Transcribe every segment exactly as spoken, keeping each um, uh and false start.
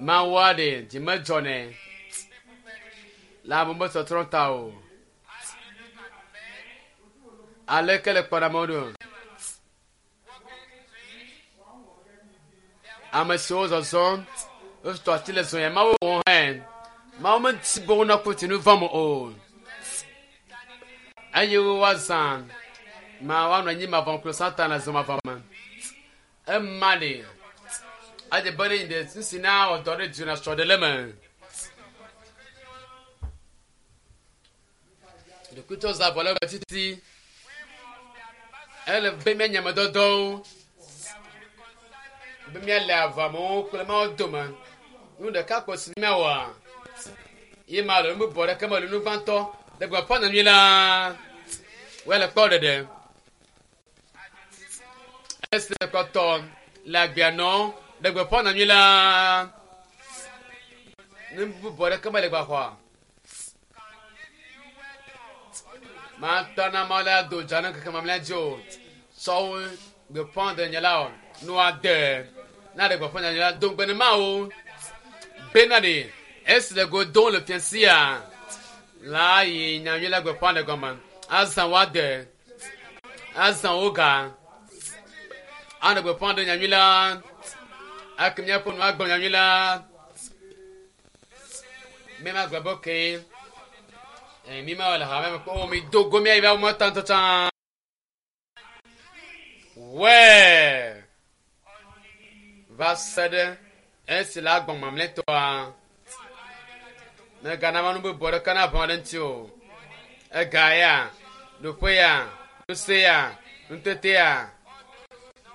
Mawua ɖe dzi medzɔnɛ le ame be tsɔtsrɔ̃ ta o. Aleke le kpɔɖamewo ɖo? Ame siwo zɔzɔm wotɔ ati le zɔnya Mawu wɔ hã. Mawu meti be wonakpɔ tsi nu vɔ̃ me o. Eye woazã ma woanɔ anyi mavɔ kple Satana zɔ mavɔ me. Ema ɖe adze be ne yi ɖe nu si na wɔ dɔ ɖe dzi na srɔ̃ ɖe le me. Ɖokuitɔ za vɔ le eme titi. Ele be míanye ame dɔdɔwo be míale avamewo kple Mawu dome. Nu ɖeka ko si míawɔa ye ma le nu bubu aɖeke mele nu gbãtɔ le gbeƒã nyanyui la woe le kpɔ ɖeɖe. Esi le kpɔtɔ le agbea nɔ le gbeƒã nyanyui la nu bubu aɖeke mele gbaxɔa. Matɔ na Mawu la do dza ne ŋkeke mamlɛa dzi o. Sɔwo gbeƒã ɖe la o. Nua de na ɖe gbeƒã nyanyui la do ŋugbe ne Mawu bena ɖe esi le go dom le fia sia la yi nyanyui la gbeƒã ɖe gɔme. Azã woade, azã wo ga. Anɔ gbeƒã ɖe nyanyui la. Ake míaƒe nu agblɔ nyanyui la. Mi ma gblɔ be okay. Eh, mi ma le hame me kpɔ o mi do go mía yi va wo tã tsã. Wɛ va se ɖe esi le agbɔn mamlɛtɔa. Megana ma nu bubu aɖeke na ʋã ɖe ŋuti o. Ega ya, ɖoƒe ya, ŋusẽ ya, nutete ya,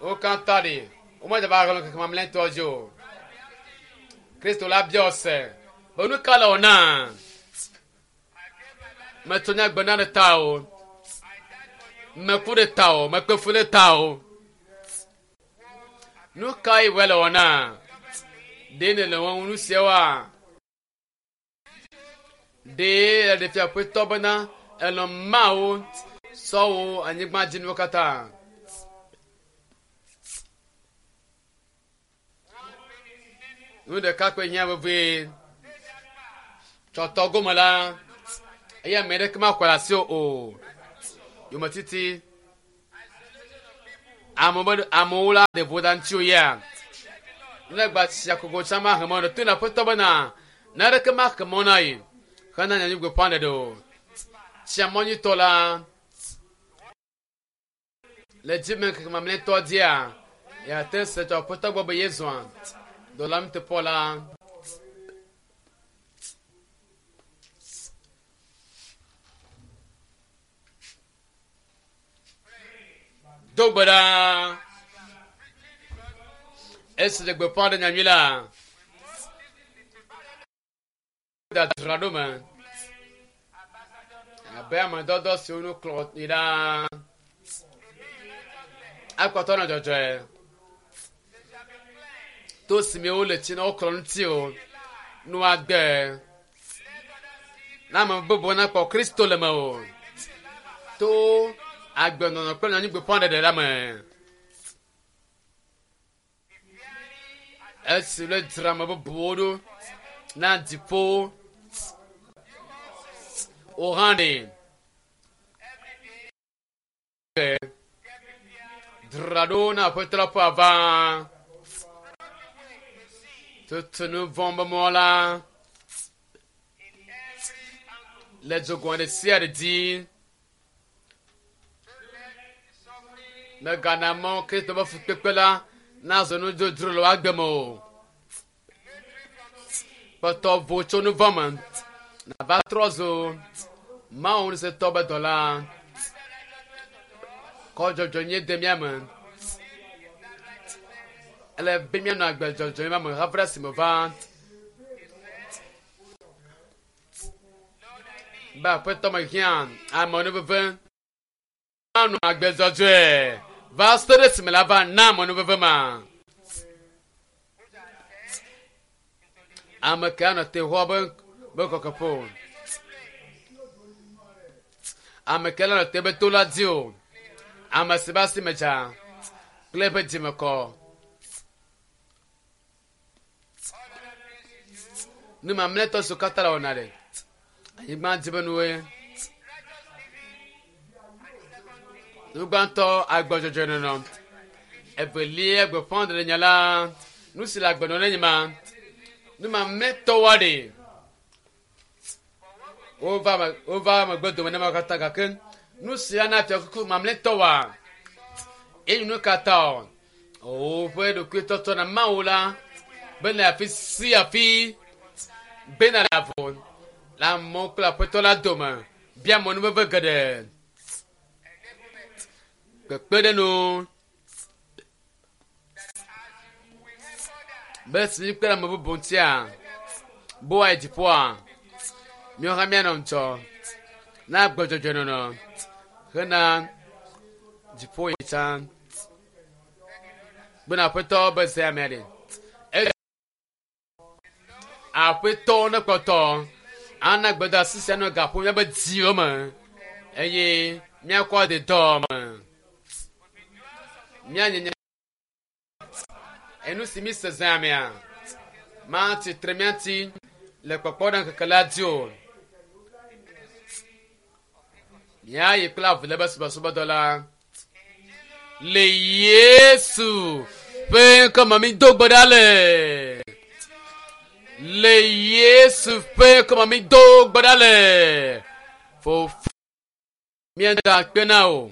wo katã ɖi womedze va ɣlɔ ŋkeke mamlɛtɔ dzi o. Kristo la bia se be nu ka le wɔ na? Metso nye agbe na ɖe ta o. Meku ɖe ta o. Mekpe fu ɖe ta o. Nu kae wòe le wɔ na? Ɖe nèle wɔm nu siawoa? Ɖe eɖe fia Aƒetɔ bena elɔ̃ Mawu sɔwo anyigbadzinuwo katã. Nu ɖeka koe hiã vevie. Tsɔtɔ gome la, eye ame aɖeke maxɔe le asiwò o. Yometiti amewo be amewo la ɖe voda ŋutiwò ya. Ne gba tsi akogo tsã mahe mɔ ɖe to na Aƒetɔ bena naneke maxe mɔ na yi hena nyanyui gbeƒã ɖeɖe o. Tsia mɔ nyuitɔ la le dzime ŋkeke mamlɛtɔ dzia yeate se tso Aƒetɔ gbɔ be yezɔa dɔla nuteƒewɔla la. Do gbe ɖa. Esi le gbeƒã ɖe nyanyui la, dzadzra ɖo me abe ame dɔdɔ siwo nu klɔ yi ɖaa. Akpɔtɔ nɔ dzɔdzɔe. To si me wole tsi na woklɔ ŋuti o. Nua gbe. Na ame bubuwo nakpɔ Kristo le mewò. To agbenɔnɔ kple nyanyui gbeƒã ɖeɖe la me. Esi le dzra ame bubuwo ɖo na dziƒo. Wò hã ɖe. Dzra ɖo na Aƒetɔ la ƒe ava. Tutu nu vɔ̃ be mɔ la le dzogoe ɖe sia ɖe dzi. Megana mɔ Kristo ƒe fukpekpe la nazɔ nu dzodzro le wò agbe me o. Kpɔtɔ vo tso nu vɔ̃ me. Nava trɔ zu Mawu ŋusẽtɔ be dɔla. Kɔ dzɔdzɔenyenye de mía me. Ele be míanɔ agbe dzɔdzɔe ma me hafi ɖe esime va. Be Aƒetɔ mehiã amenuveve. Anɔ agbe dzɔdzɔe va se ɖe esime la va na amenuveve ma. Ame ke anɔ te xɔ be be kɔkɔƒe o. Ame ke le te be to la dzi o. Ame si be asi me dza kple eƒe dzime kɔ. Nu mamlɛtɔ siwo katã le wɔna ɖe. Anyigba dzi be nuwoe. Nu gbãtɔ agbɔdzɔdzɔenɔnɔ. Evelia gbeƒãɖeɖe nya la. Nu si le agbenɔnɔ ne nye ma. Nu mamlɛtɔwoa ɖe. Wova me wova megbe dome ne ma katã gake nu sia na fiakuku mamlɛtɔwoa. Eye nu katã o. Woƒe ɖokuitɔtɔ na Mawu la bena afi sia afi bena le avɔ le amewo kple aƒetɔ la dome bia mɔnuveve geɖe. Kpekpeɖeŋu be si míkpe ɖe ame bubu ŋutia boa yi dziƒoa míawo hã míanɔ ŋudzɔ na agbe dzɔdzɔenɔnɔ hena dziƒo yi tsã. Bena aƒetɔ be ze amea ɖe. Aƒetɔ ne kpɔtɔ ana gbedeasi sia nɔ gaƒo míaƒe dziwo me eye míakɔ de dɔ me. Míanye nye enu si mi se zã mea matsi tre mía ŋuti le kpɔkpɔ ɖe ŋkeke la dzi o. Míayi kple avu le be subɔsubɔdɔ la. Le Yesu ƒe ŋkɔme mi do gbe ɖa le. Le Yesu ƒe ŋkɔme mi do gbe ɖa le. Fofo míeda akpe na wò.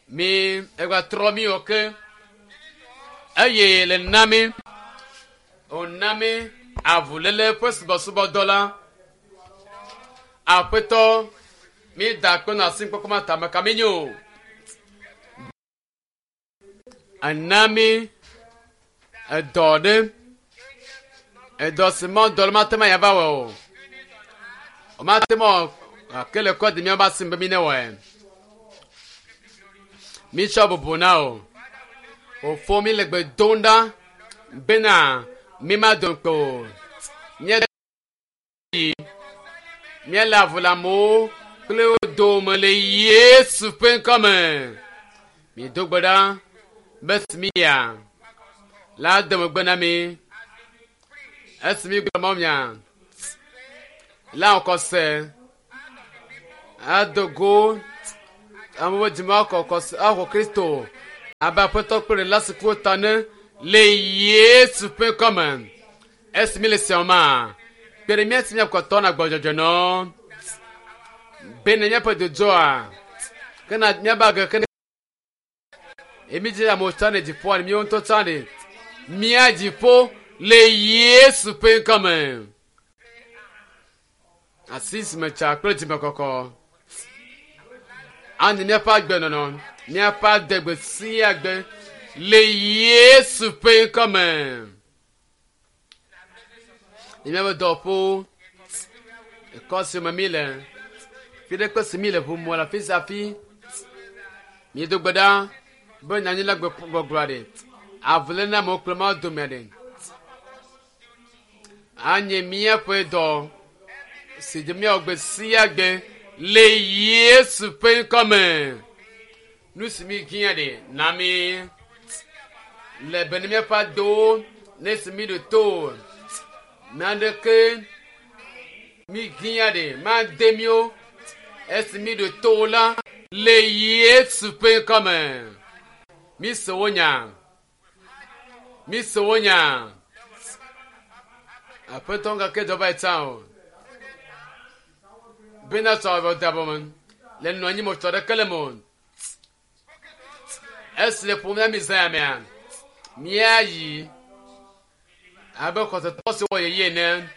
Mi egba trɔ mi wɔ ke eye le na mi wòna mi avuléle ƒe subɔsubɔdɔ la. Aƒetɔ mi da akpe na asi kpɔkpɔ ma tame ka mi nyo. Ena mi edɔ ɖe edɔ si mɔ dɔ la mate ŋu ava wɔ o. Womate ŋu gake le kɔ di míaƒe asi be mi ne wɔe. Mi tsɔ bubu na o. Fofo mi le gbe dom ɖa bena mi ma do ŋukpe o. Míeyi míele avu le amewo kple wo dome le Yesu ƒe ŋkɔme. Mi do gbe ɖa be esi mi yia la de megbe na mi. Esi mi gblɔ mɔ mia la xɔse ado go amewo dzime axɔ xɔse axɔ Kristo abe aƒetɔ kple ɖela si ku ta ne le Yesu ƒe ŋkɔme. Esi mi le siawo ma kpe ɖe mía si míakpɔtɔ na gbɔdzɔdzɔnɔ bene míaƒe dodzoa ke na míaƒe age ke ne emi dzi amewo tsã ɖe dziƒoa míawo ŋutɔ tsã ɖe mía dziƒo le Yesu ƒe ŋkɔme. Asi si me tsa kple dzimekɔkɔ anyi míaƒe agbenɔnɔ míaƒe adegbe sia gbe le Yesu ƒe ŋkɔme. Le míaƒe dɔwɔƒewo, ekɔ si me mi le, fi ɖe kpe si mi le ʋu mɔ le afi sia afi. Míedo gbe ɖa be nyanyi la gbɔgblɔa ɖe avuléle na amewo kple Mawu domea ɖe. Anye míaƒe dɔ si dzi míawɔ gbe sia gbe le Yesu ƒe ŋkɔme. Nu si mi hiã ɖe na mi le be ne míaƒe adowo ne si mi ɖo to naneke mi hiã ɖe made míwo esi mi ɖo to la le Yesu ƒe ŋkɔme. Mi se wo nya. Mi se wo nya. Aƒetɔ gake dɔ va yi tsã o. Bena sɔ avɔ da bɔ me le nɔ anyi mo tsɔ ɖeke le mo. Esi le ƒom na mi zã ya mea míayi abe xɔsetɔ si wɔ yeye ene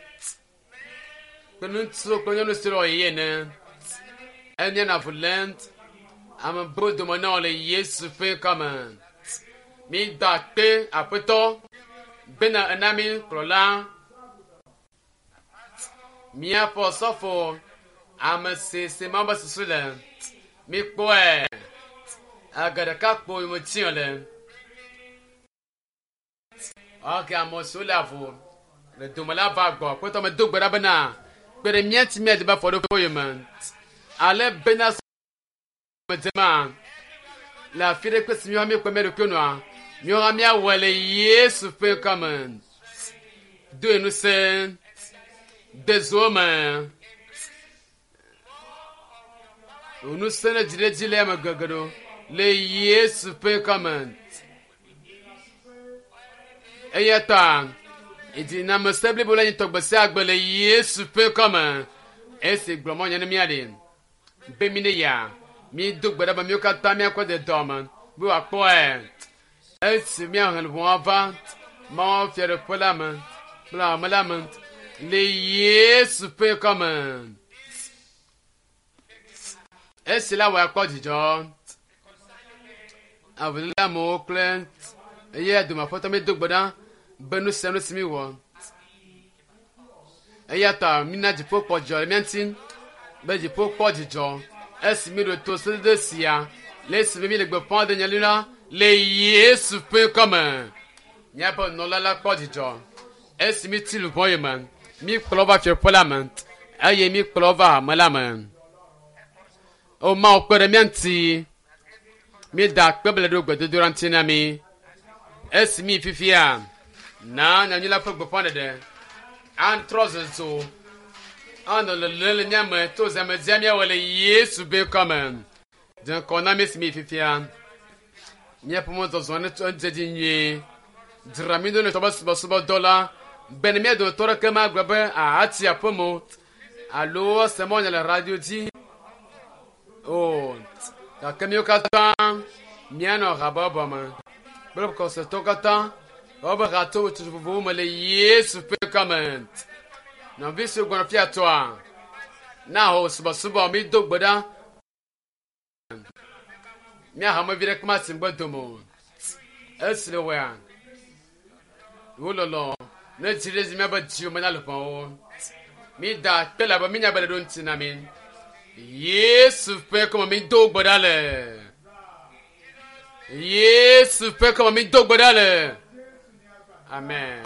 kple ŋutsu kple nyɔnu si wɔ yeye ene. Enye na avu lém ame bo dome na wo le Yesu ƒe ŋkɔme. Mi da akpe aƒetɔ bena ena mi kplɔla míaƒe osɔfo ame si si Mawu be susu le. Mi kpɔe age ɖeka kpo yome tsi le. Ok, ame siwo le avu le dome la va gbɔ. Aƒetɔ me do gbe ɖa bena kpe ɖe mía ŋuti míadze be afɔɖoƒe yome. Ale bena me dzema le afi ɖe kpe si míawo míekpe mía ɖokui nɔa míawo hã míawɔe le Yesu ƒe ŋkɔme. Do ŋusẽ de zo me. Ŋusẽ ne dzi ɖe dzi le ame gege ɖo le Yesu ƒe ŋkɔme. Eya ta edinamese blibo la nyi tɔgbe sia gbe le Yesu ƒe ŋkɔme. Esi gblɔ mɔ nye ne míaɖe be mi ne ya mi do gbe ɖa be míwo katã míakɔ de dɔme be wòakpɔe. Esi míahe ʋɔa va Mawu fiaɖuƒe la me kple ame la me le Yesu ƒe ŋkɔme. Esi la wɔ akpɔ dzidzɔ. Avuléle amewo kple eye dome aƒetɔ mi do gbe ɖa be nu sia nu si mi wɔ. Eya ta mina dziƒo kpɔ dzidzɔ le mía ŋuti be dziƒo kpɔ dzidzɔ esi mi ɖo to sedede sia le esime mi le gbeƒã ɖe nyali la le Yesu ƒe ŋkɔme. Míaƒe nunɔla la kpɔ dzidzɔ esi mi ti luʋɔ yi me mi kplɔ va fiaƒe la me eye mi kplɔ va hame la me. O Mawu kpe ɖe mía ŋuti. Mi da akpe ble ɖo gbedodoɖa ŋuti na mi. Esi mi fifia na nyanyui la ƒe gbeƒãɖeɖe atrɔ zozo anɔ lele le mía me to zãmedzia míawɔ le Yesu ƒe ŋkɔme. Dze ŋkɔ na mi esi mi fifia. Míaƒe mɔzɔzɔ ne tso dze dzi nyuie. Dzra mi ɖo ne tɔbe subɔsubɔdɔ la be ne mía dometɔ ɖeke magblɔ be atsi aƒe me o alo ase mɔ nye le radio dzi o. Gake míwo katã míanɔ habɔbɔ me kple kɔsetɔwo katã wobe hatso vovovowo me le Yesu ƒe ŋkɔme. Nɔvi siwo gbɔna fia tɔa na ho subɔsubɔ mi do gbe ɖa. Mía hamevi ɖeke masi ŋgbe dome o. Esi le wɔa wo lɔlɔ ne dzi ɖe dzi míabe dziwo me na luʋɔwo. Mi da akpe le abe mínya be le ɖo ŋuti na mi. Yesu ƒe ŋkɔme mi do gbe ɖa le. Yesu ƒe ŋkɔme mi do gbe ɖa le. Amen.